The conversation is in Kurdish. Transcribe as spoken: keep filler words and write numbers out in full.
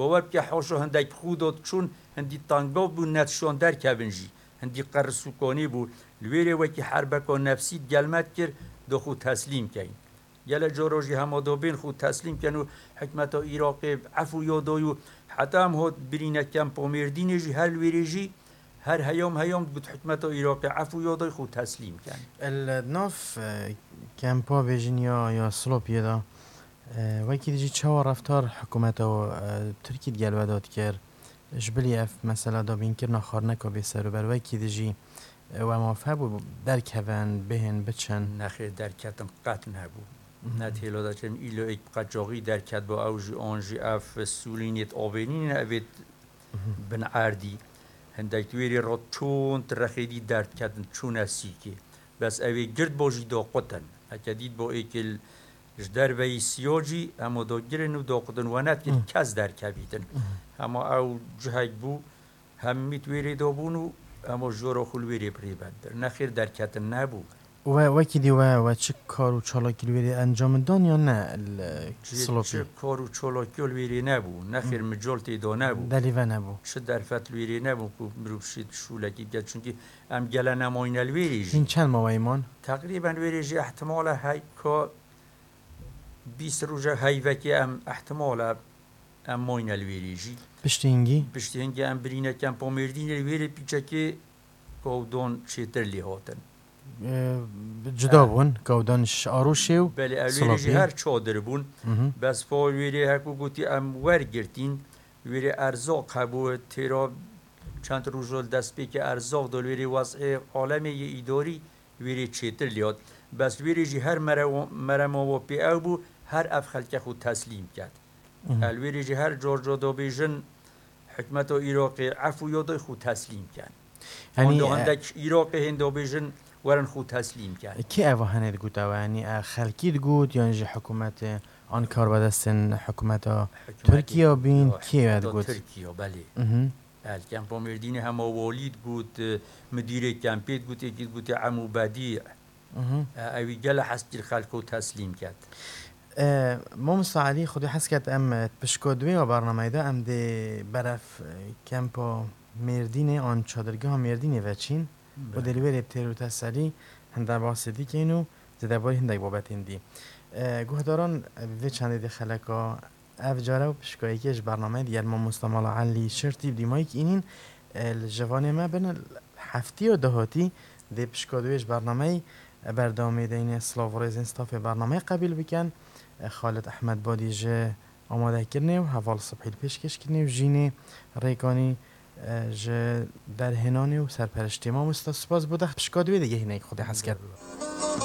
Bawer bike haşa hindek bi xwe da diçûn, hindî tangav bû, nedişan derkevin jî. Hindî qeris û kanî bû. Li wêrê wekî herbeka nefsî di gel me dikir, da xwe teslîm keyn. Gelek cara jî hema da bên xwe teslîm ken û hikmeta Iraqê efû ya dayî û heta em hat birîne kempa Mêrdînê jî her li wêrê jî her heyam heyam digot hikmeta Iraqê efû ya dayî xwe teslîm ken. Li nav, e, kempa bêjin ya, ya Silopiyê de, e, wekî dijî çawa reftar hikûmeta, e, Tirkî di gel we de dikir? Ji bilî ev mesela dabînkirina xwarineka bêserûber wekî dijî, e, we maf hebû derkevin, bihên, biçin? Nexêr, derketin qet nebû. Mhm. Ne têlo de çim îlo êk bi qeçaxî derket bo ew jî an jî ev sûlînêt avênîne evêt Mhm. bin erdî. Hindek wêrê re çûn, ti rexê dî derdketin, çûne sîkê. Bes evê gird bo jî doqutin. Heke dît bo êkil ji derveyî siyo jî, hemo dogirin û doqutin we nedkir Hı. kes derkevîtin. Hı. Hema ew cihek bû, hemî di wêrê de bûn û hemo jora xwe li wêrê bi rê bendin. Nexêr derketin nebû. We wekî dî we, we çi kar û çalakî li wêrê encam dan ya ne li Cê Silopî? Çi kar û çalakî li wêrê nebû. Nexêr Hı. mical tê de nebû. Delî ve nebû. Çi derfet li wêrê nebû ku mirov şît şûlekî bike. Çunkî em gele nemayne li wêrê jî. Hîn çend maweyî man? Teqrîben wêrê jî ihtimale heyka bîst roja heyvekê em ihtimale em mayne li wêrê jî. Piştî hingî? Piştî hingî em birîne kempa Mêrdînê li wêrê pîçekê kawdan çêtir lê hatin. Ee, cuda He. bûn, kawdan ji Arûşê û Belê, ew li wêrê jî Silopî. her çadir bûn. Mhm. Bes pa wêrê hekû gotî em wergirtîn. Wêrê erzaq hebû, têra çend roj li destpêkê erzaq da li wêrê wez'ê alemê yê îdarî wêrê çêtir lê hat. Bes li wêrê jî her merewa-, merema wa pê ew bû, her ev xelke xwe teslîm ket. Mhm. El wêrê jî her car car da bêjin, hikmeta Iraqê efû ya dayî xwe teslîm ken. Yanî, Handa e, hindek Iraqê hên da bêjin, werin xwe teslîm ken. Kê eva hene digot ew? Yanî, e, xelkî digot, yan jî hikûmetê an karbedestên hikûmeta Hikûmetê Tirkiye bîn, ya, kê hikûmeta digot? Tirkiye, belê. Mhm. El kempa Mêrdînê hema walî digot, e, midîrê kempê digot, êkî digot, Emû Bedî. Mhm. E, ewî gele hez kir xelko teslîm ket. E, Mamosta Elî, Xwedê hez ket em, e, pişka duwê ya bernameyê de em dê berev, e, kempa Mêrdînê an çadirgeha Mêrdînê veçîn. Belê. Û dê li wê rê têr û teselî hinde basê dî keyn û zêdebarî hindek babetên dî. E, guhdaran, e, vê çendê dê xeleka Ev care û pişkayekê ji bernameyê digel Mamosta Mala Elî Şirtî bi dîmayî kî înîn, e, li civanê me bin, heftiya dahatî dê pişka duwê ji bernameyê, e, berdewamê deyne silav û rêzên stafê bernameyê qebîl bikin. E, Xalid Ehmed Badî ji amadekirinê û Heval Sibhî li pêşkêşkirinê û Jînê Rêkanî, e, ji derhênanê û serperiştê. Mamosta, spas bo te, pişka duwê digehîne, Xwedê hez ket.